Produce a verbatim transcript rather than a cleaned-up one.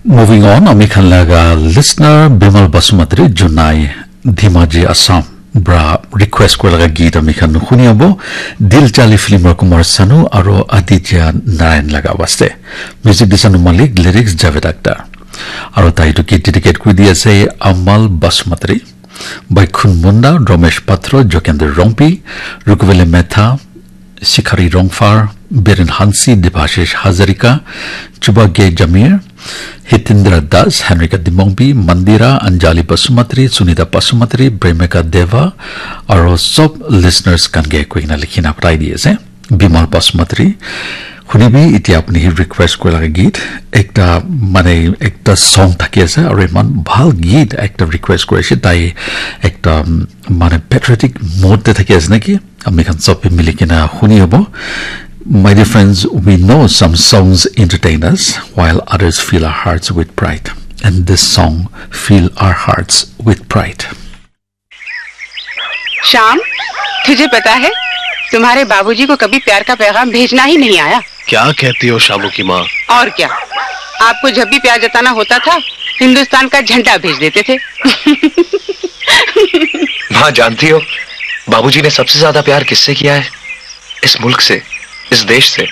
Moving on, ami khan laga listener Bimal Basumatary Junai Dhimaji Assam pra request kura laga geet ami khan huni abo Dil Chali film ra Kumar Sanu aro Aditya Narayan laga waste. Music di Sanu Malik, lyrics Javed Akhtar. Aro tai etu geet dedicate kuri di ase Amal Basumatary, Baikhun Munda, Romesh Patro, Jokender Rongpi, Rukuvele Metha, Sikhari Rongphar, Biren Hansi, Debashish Hazarika, Chuba G Jamir, Hitendra Das, Henrika Dimongbi, Mandira, Anjali Basumatary, Sunita Basumatary, Premika Deva, aro sob listeners khan ke koina likhina pathai di ase. Bimal Basumatary. Hunibi, etia apni hi request kura laga geet. Ekta, mane, ekta song thaki ase, aro iman bhal geet ekta request kuri ase. Tai ekta, um, mane, patriotic mode te thaki ase naki? Ami khan sob bi mili kena huni abo. My dear friends, we know some songs entertain us, while others fill our hearts with pride. And this song fill our hearts with pride. शाम, तुझे पता है, तुम्हारे बाबूजी को कभी प्यार का पैगाम भेजना ही नहीं आया। क्या कहती हो शामू की माँ? और क्या, आपको जब भी प्यार जताना होता था, हिंदुस्तान का झंडा भेज देते थे। माँ, जानती हो, बाबूजी ने सबसे ज्यादा प्यार किससे किया है? इस मुल्क से, इस देश से।